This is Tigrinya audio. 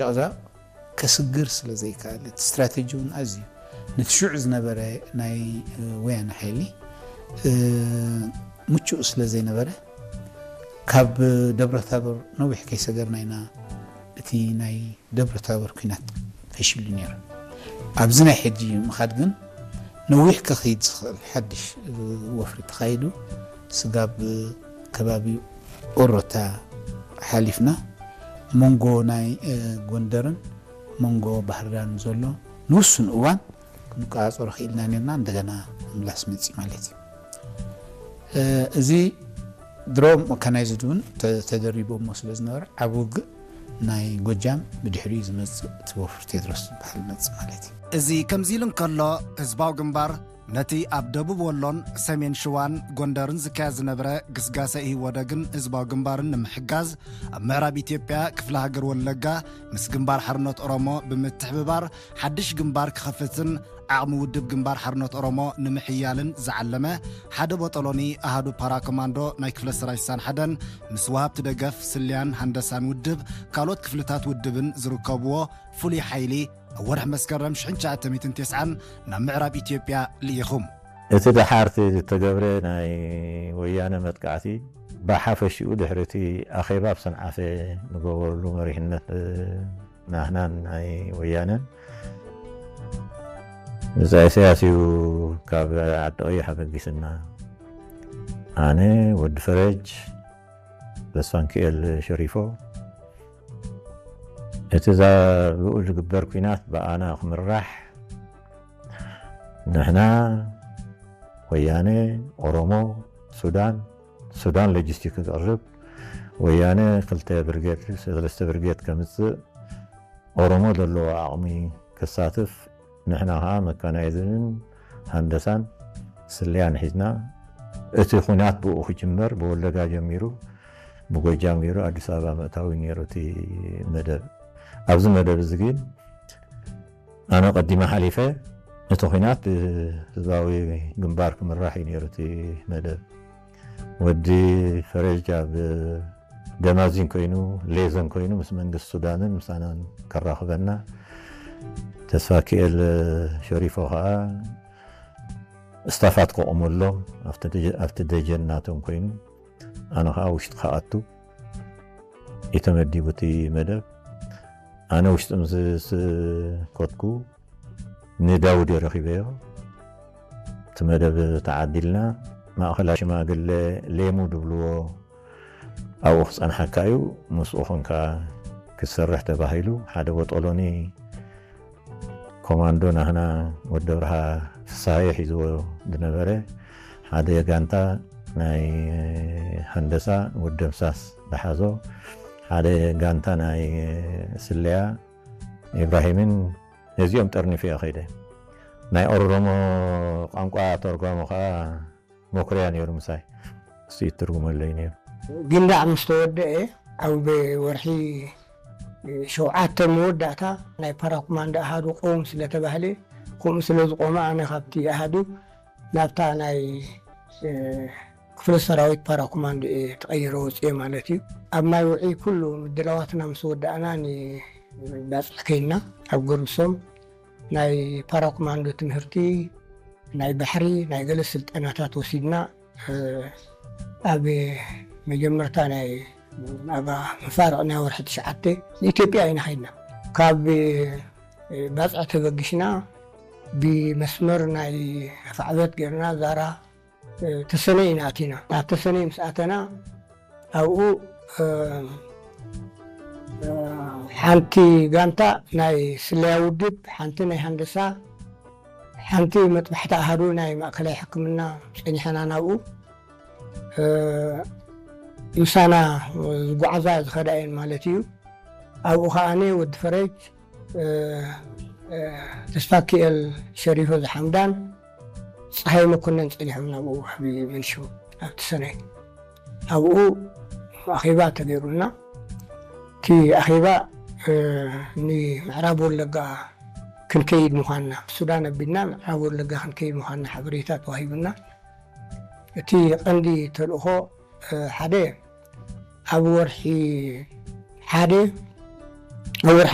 ዛቕዛቕ ከስግር ስለ ዘይከኣል፣ እቲ ስትራተጂ እውን ኣዝዩ ነቲ ሽዑ ዝነበረ ናይ፣ እ፣ ወያነ ሓይሊ፣ እ፣ ምቹእ ስለ ዘይነበረ፣ ካብ ደብረታቦር ነዊሕ ከይሰገርና ኢና እቲ ናይ ደብረታቦር ኲናት ፈሺሉ ነይሩ። ኣብዚ ናይ ሕጂ ምኻድ ግን ነዊሕ ከኽይድ ዝኽእል ሓድሽ፣ እ፣ ወፍሪ ተኻይዱ፣ ስጋብ ከባቢ ኦሮታ ሓሊፍና መንጎ ናይ፣ እ፣ ጎንደርን መንጎ ባህርዳርን ዘሎ ንውሱን እዋን ክንቆጻጸሮ ክኢልና ነርና፣ እንደገና ምምላስ መጺ ማለት እዩ። እ፣ እዚ ድሮ መካናይዝድ እውን ተ-፣ ተደሪቦሞ ስለ ዝነበረ፣ ዓቢ ውግእ ናይ ጎጃም ብድሕሪኡ ዝመጽእ እቲ ወፍሪ ቴድሮስ ዝበሃል መጽእ ማለት እዩ። እዚ ከምዚ ኢሉ እንከሎ፣ ህዝባዊ ግንባር ነቲ ኣብ ደቡብ ወሎን ሰሜን ሽዋን ጎንደርን ዝካየድ ዝነበረ ግስጋሰ ኢህወደግን ህዝባዊ ግንባርን ንምሕጋዝ፣ ኣብ ምዕራብ ኢትዮጵያ ክፍለ ሃገር ወለጋ ምስ ግንባር ሓርነት ኦሮሞ ብምትሕብባር ሓድሽ ግንባር ክኸፍትን ዓቕሚ ውድብ ግንባር ሓርነት ኦሮሞ ንምሕያልን ዝዓለመ ሓደ ቦጦሎኒ ኣሃዱ ፓራኮማንዶ ናይ ክፍለ ሰራዊት ሳን ሓደን ምስ ወሃብቲ ደገፍ ስለያን ሃንደሳን ውድብ ካልኦት ክፍልታት ውድብን ዝርከብዎ ፍሉይ ሓይሊ ኣብ ወርሒ መስከረም ሽሕን ትሽዓተ ሚእትን ተስዓን ናብ ምዕራብ ኢትዮጵያ ልኢኹም። እቲ ደሓርቲ ዝተገብረ ናይ ወያነ መጥቃዕቲ ብሓፈሽኡ ድሕሪ እቲ ኣኼባ ኣብ ሰንዓፈ ንገበርሉ መሪሕነት፣ እ፣ ናህናን ናይ ወያነን ብጻይ ኢሳያስ እዩ ካብ ዓዲ ቀይሕ ኣበጊስና። ኣነ፣ ወዲ ፈረጅ፣ ተስፋንክኤል ሸሪፎ፣ እቲ ዛ-፣ ብኡ ዝግበር ኲናት ብኣና ክምራሕ፣ ንሕና፣ ወያነ፣ ኦሮሞ፣ ሱዳን፣ ሱዳን ሎጂስቲክ ክቕርብ፣ ወያነ ክልተ ብርጌድ፣ ሰለስተ ብርጌድ ከምጽእ፣ ኦሮሞ ዘለዎ ዓቕሚ ከሳትፍ፣ ንሕና ኸኣ መካናይዝንን ሃንደሳን ስለያን ሒዝና፣ እቲ ኹናት ብኡ ክጅመር፣ ብወለጋ ጀሚሩ፣ ብጎጃም ገይሩ ኣዲስ ኣበባ ምእታው እዩ ነይሩ እቲ መደብ። ኣብዚ መደብ እዚ ግን ኣነ ቀዲመ ሓሊፈ፣ እቲ ኹናት ብህዝባዊ ግንባር ክምራሕ እዩ ነይሩ እቲ መደብ። ወዲ ፈረጅ ኣብ ደማዚን ኮይኑ፣ ሌዘን ኮይኑ ምስ መንግስቲ ሱዳንን ምሳናን ከራኽበና፣ ተስፋኪኤል ሸሪፎ ኸኣ ስታፋት ከቑመሎም ኣብቲ ደጀ-፣ ኣብቲ ደጀን ናቶም ኮይኑ፣ ኣነ ኸኣ ውሽጢ ክኣቱ እዩ ተመዲቡ እቲ መደብ። ኣነ ውሽጢ ምስ፣ ምስ ኮትኩ ንዳውድ ረኺበዮ። እቲ መደብ ተዓዲልና፣ ማእኸላይ ሽማግለ ሌሙ ድብልዎ ኣብኡ ክጸንሓካ እዩ፣ ምስኡ ኾንካ ክትሰርሕ ተባሂሉ። ሓደ ቦጦሎኒ ኮማንዶ ናህና ወዲ ኣብርሃ ፍስሃየ ሒዝዎ ዝነበረ፣ ሓደ ጋንታ ናይ ሃንደሳ ወዲ ደምሳስ ዝሓዞ፣ ሓደ ጋንታ ናይ ስለያ ኢብራሂምን ነዚኦም ጠርኒፈ እየ ኸይደ። ናይ ኦሮሞ ቋንቋ ተርጓሚ ኸዓ መኩርያ ነይሩ ምሳይ። እሱ ይትርጉመለይ ነይሩ። ግንዳዕ ምስ ተወደአ፣ ኣብ ወርሒ ሸውዓተ መወዳእታ ናይ ፓራኮማንዶ ኣሃዱ ቀውም ስለ ተባህለ፣ ከምኡ ስለ ዝቆመ፣ ኣነ ካብቲ ኣሃዱ ናብታ ናይ፣ እ፣ ክፍለ ሰራዊት ፓራኮማንዶ እየ ተቐይረ ወፅየ ማለት እዩ። ኣብ ማይ ውዒ ኩሉ ምድላዋትና ምስ ወዳእና፣ ንባፅዕ ከይድና ኣብ ገርብሶም ናይ ፓራኮማንዶ ትምህርቲ፣ ናይ ባሕሪ፣ ናይ ገለ ስልጠናታት ወሲድና፣ እ፣ ኣብ መጀመርታ ናይ፣ ኣብ መፋርቕ ናይ ወርሒ ትሽዓተ ንኢትዮጵያ ኢና ከይድና። ካብ፣ እ፣ ባጽዕ ተበጊስና ብመስመር ናይ ኣፍዓበት ጌርና ዛራ፣ እ፣ ተሰነይ ኢና ኣቲና። ናብ ተሰነይ ምስ ኣተና ኣብኡ፣ እ፣ እ፣ ሓንቲ ጋንታ ናይ ስለያ ውድብ፣ ሓንቲ ናይ ሃንደሳ፣ ሓንቲ መጥባሕቲ ኣሃዱ ናይ ማእከላይ ሕክምና ጸኒሐና ናብኡ፣ እ፣ ምሳና ዝጓዓዛ ዝኸዳ እየን ማለት እዩ። ኣብኡ ከኣ ኣነ፣ ወዲ ፈረጅ፣ እ፣ እ፣ ተስፋኪኤል ሸሪፎ ዝሓምዳን፣ ጸሃይ መኮነን ጸኒሖም ናብኡ፣ ኣብ መንሽው፣ ኣብቲ ሰነይ። ኣብኡ ኣኼባ ተገይሩልና። እቲ ኣኼባ፣ እ፣ ንምዕራብ ወለጋ ክንከይድ ምዃንና፣ ሱዳን ኣቢልና ምዕራብ ወለጋ ክንከይድ ምዃንና ሓበሬታ ተዋሂቡና። እቲ ቀንዲ ተልእኾ፣ እ፣ ሓደ ኣብ ወርሒ ሓደ፣ ኣብ ወርሒ